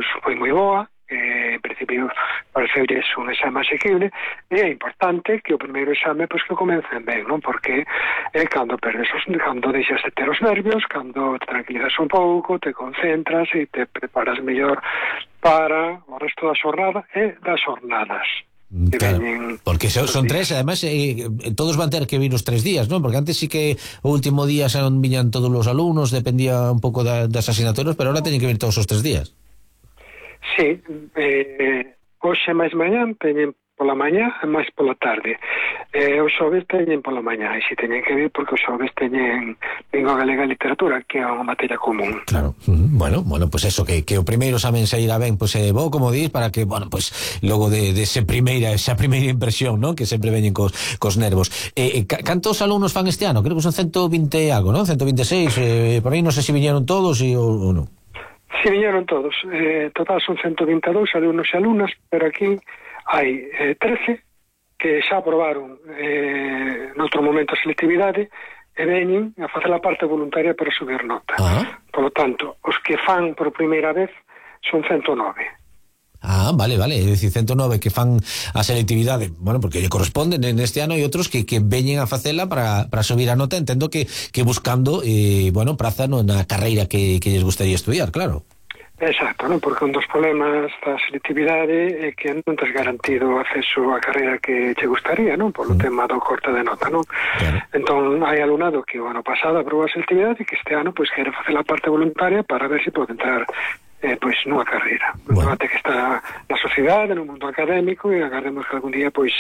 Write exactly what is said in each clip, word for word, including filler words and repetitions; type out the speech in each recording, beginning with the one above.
pois, foi moi boa, eh, en principio pareceulle un exame asequible, e é importante que o primeiro exame pois que comecen ben, non? Porque é cando perdes os, cando deixas de ter os nervios, cando te tranquilizas un pouco, te concentras e te preparas mellor para o resto da xornada e das xornadas. Claro, porque son, son tres, además eh, todos van ter que vir os tres días, non? Porque antes sí que o último día xa non viñan todos os alumnos, dependía un pouco da, das asignaturas, pero ahora teñen que vir todos os tres días. Sí, eh, hoxe máis mañán teñen pola mañá e máis pola tarde, eh, os xoves teñen pola mañá, e si teñen que vir porque os xoves teñen lingua galega e literatura, que é unha materia común. Claro, bueno, bueno, pues eso, que, que o primeiro examen se irá ben, pues eh, bo, como dis, para que, bueno, pues logo de, de ese primeira, esa primeira impresión, ¿no? Que sempre veñen cos, cos nervos. Eh, eh, cantos alumnos fan este ano? Creo que son ciento vinte algo, ¿no? ciento veintiséis, eh, por aí non sei se viñeron todos e, ou, ou non. Si, viñeron todos, eh, total son ciento vinte e dous alumnos e alumnas, pero aquí hai eh, trece que xa aprobaron eh, noutro momento a selectividade e veñen a facer a parte voluntaria para subir nota. Ah. Por lo tanto, os que fan por primeira vez son ciento nove. Ah, vale, vale, é dicir, ciento nove que fan a selectividade, bueno, porque lle corresponden neste ano, e outros que, que veñen a facela para, para subir a nota, entendo que, que buscando, eh, bueno, praza no, na carreira que, que lles gustaría estudiar, claro. Exacto, non? Porque un dos problemas da selectividade é que non tes garantido acceso á carreira que te gustaría, non? Por o mm. tema do corte de nota, non? Claro. Entón, hai alumnado que o ano pasado aprobou a selectividade e que este ano, pois, quere facer a parte voluntaria para ver se pode entrar eh, pois, nunha carreira. Bueno. Un debate que está na sociedade, no mundo académico, e agardemos que algún día, pois,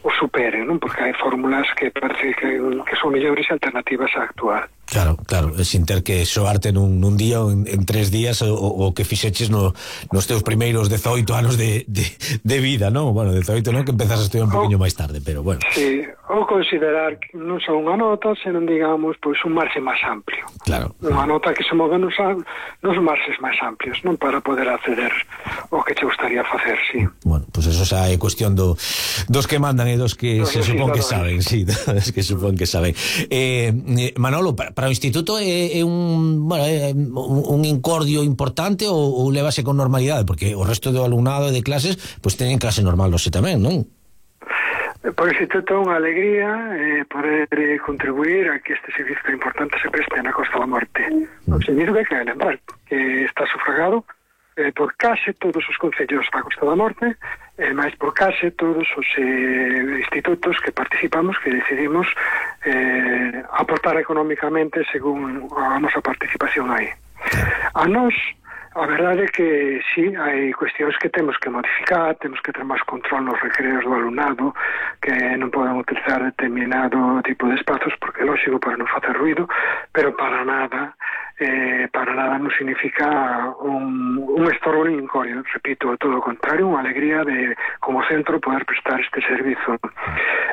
o superen, non? Porque hai fórmulas que parece que, que son mellores e alternativas á actual. Claro, claro, sin ter que soarte nun, nun día ou en, en tres días o, o que fixeches no, nos teus primeiros dezoito anos de, de, de vida, non? Bueno, dezoito non, que empezas a estudiar un poquinho máis tarde, pero bueno. Sí, ou considerar que non só unha nota, senón, digamos, pois un marxe máis amplio. Claro. Unha nota que se move nos, nos marxes máis amplios, non? Para poder acceder ao que te gustaría facer, sí. Bueno, pois pues eso xa é cuestión do, dos que mandan e dos que no, se supón que saben, sí, dos que supón que saben. Eh, Manolo, para para o instituto é, é un, bueno, é un, un incordio importante ou, ou levase con normalidade, porque o resto do alumnado e de clases pois pues, teñen clase normal hoxe tamén, non? Por o instituto é unha alegría eh, poder eh, contribuir a que este servicio importante se preste na Costa da Morte. Mm. O significa que hai lembrar que está sufragado eh, por case todos os concellos da Costa da Morte, e máis por case todos os eh, institutos que participamos, que decidimos eh, aportar económicamente según a nosa participación aí. A nós, a verdade é que sí, hai cuestións que temos que modificar, temos que ter máis control nos recreos do alumnado, que non poden utilizar determinado tipo de espazos, porque é lógico para non facer ruido, pero para nada eh, para nada non significa un, un estorbo nin incordio, repito, todo o contrario, unha alegría de, como centro, poder prestar este servizo.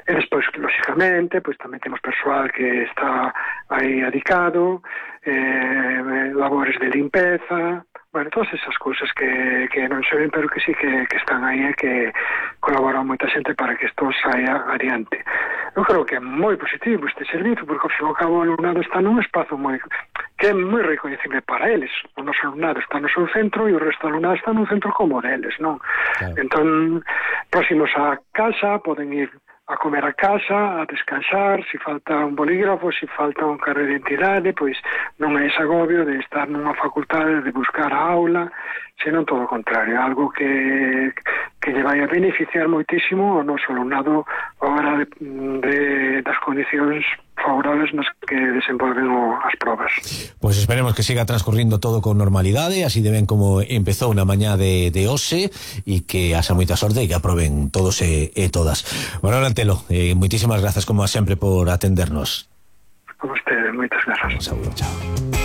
E despois, lógicamente, pois tamén temos persoal que está aí adicado, eh, labores de limpeza, bueno, todas esas cousas que, que non se ven, pero que sí que, que están aí e que colaboran moita xente para que isto saia adiante. Eu creo que é moi positivo este servizo, porque ao fin e ao cabo o alumnado está nun espazo moi que é moi reconhecible para eles. O noso alumnado está no seu centro e o resto do alumnado está nun centro como deles, non? Claro. Entón, próximos á casa, poden ir a comer a casa, a descansar, se falta un bolígrafo, se falta un carro de identidade, pois non é ese agobio de estar nunha facultade, de buscar a aula, senón todo o contrario, algo que, que lle vai a beneficiar moitísimo ao noso alumnado a hora de, de, das condicións favorables nas que desenvolven o, as probas. Pois pues esperemos que siga transcorrindo todo con normalidade, así de ben como empezou na mañá de, de hoxe, e que haxa moita sorte e que aproben todos e, e todas. Bueno, Antelo, eh, moitísimas grazas como sempre por atendernos. A vostede, moitas grazas. Un saúdo, chao.